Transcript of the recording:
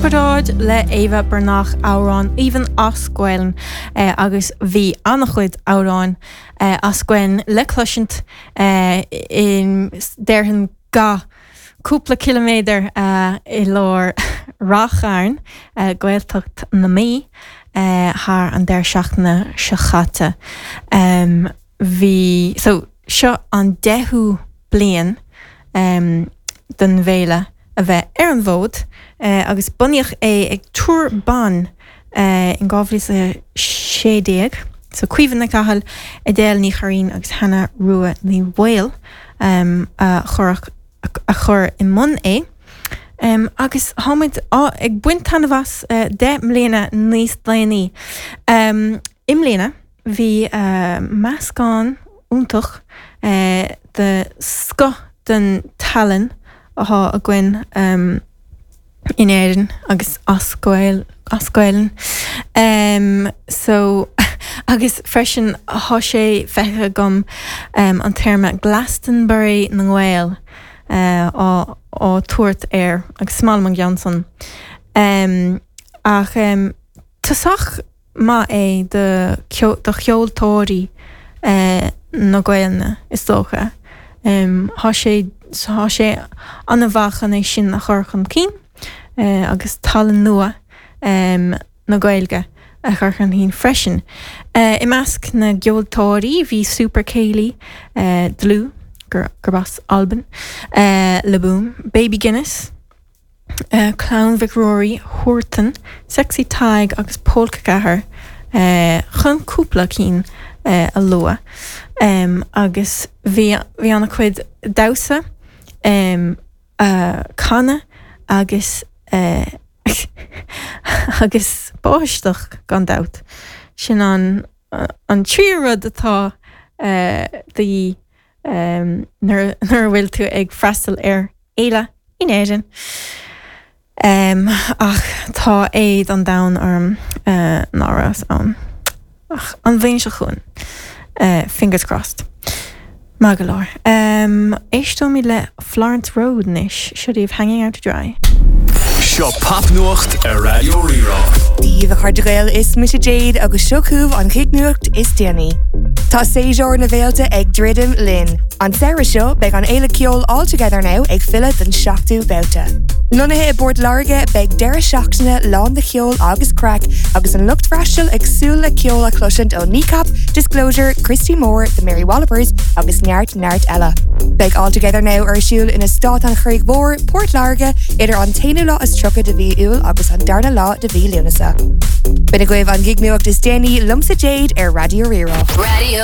Comparáid le Éabha Breathnach, amhrán aoibhinn as Gaelainn agus bhí an-chuid amhráin as Gaelainn le cloisint in déarfainn gach cúpla ciliméadar i lár Ráth Chairn, Gaeltacht na Mí, thar an deireadh seachtaine seo chaite. Bhí, so, seo an deichiú bliain don bhféile a bheith ar an bhfód agus bunaíodh é ag triúr ban in 2016, so Caoimhe Nic Cathail, Edel Ní Churraoin agus Hannah Rua Ní Bhaoill a chuir a chuir i mbun é. Agus táimid ag baint taitneamh as 10 mbliana níos déanaí. I mbliana bhí meascán iontach de scoth den tallann atá againn in Éirinn agus as Gael as Gaelainn. So agus freisin tá sé feicthe agam an téarma Glastonbury na nGael á á tabhairt air agus is maith liom an ceann san. Ach tosach maith é do cheoltóirí na Gaelainne, is dócha. Tá sé tá sé an-mhaith chun é sin a chur chun cinn agus tallann nua na Gaeilge a chur chun cinn freisin. I measc na gceoltóirí bhí Super Céilí, Dlúth, gurb as Albain, Le Boom, Baby Guinness, Clann Mhic Ruairí, Huartan, Sexy Tadhg agus Pólca 4 chun cúpla cinn a lua. Agus bhí bhí an-chuid damhsa, canadh agus agus báisteach gan dabht. Sin an an tríú rud atá de dhíth nuair a bhfuil tú ag freastal ar fhéile in Éirinn. Ach tá éad an domhain orm ná rabhas ann ach an bhliain seo chugainn. Fingers crossed. Maith go leor. Éisteoimid le Florence Road anois. Seo daoibh Hanging Out to Dry. Seo Popnuacht ar Raidió Rí-Rá. Dia daoibh a chairde Gael, is mise Jade agus seo chugaibh an chig nuacht is déanaí. Tá séasúr na bhféilte ag druidim linn. An samhradh seo, beidh an fhéile ceoil All Together Now ag filleadh don seachtú babhta. Lonnaithe i bPort Láirge, beidh deireadh seachtaine lán de cheol agus craic agus an lucht freastail ag súil le ceol a chloisint ó Kneecap, Disclosure, Christy Moore, The Mary Wallopers agus neart neart eile. Beidh All Together Now ar siúl in Eastát an Chreig Mhóir, Port Láirge, idir an t-aonú lá is 30 de mhí Iúil agus an darna lá de mhí Lúnasa. B'in agaibh an gig nuacht is déanaí liomsa Jade ar Raidió Rí-Rá. Radio.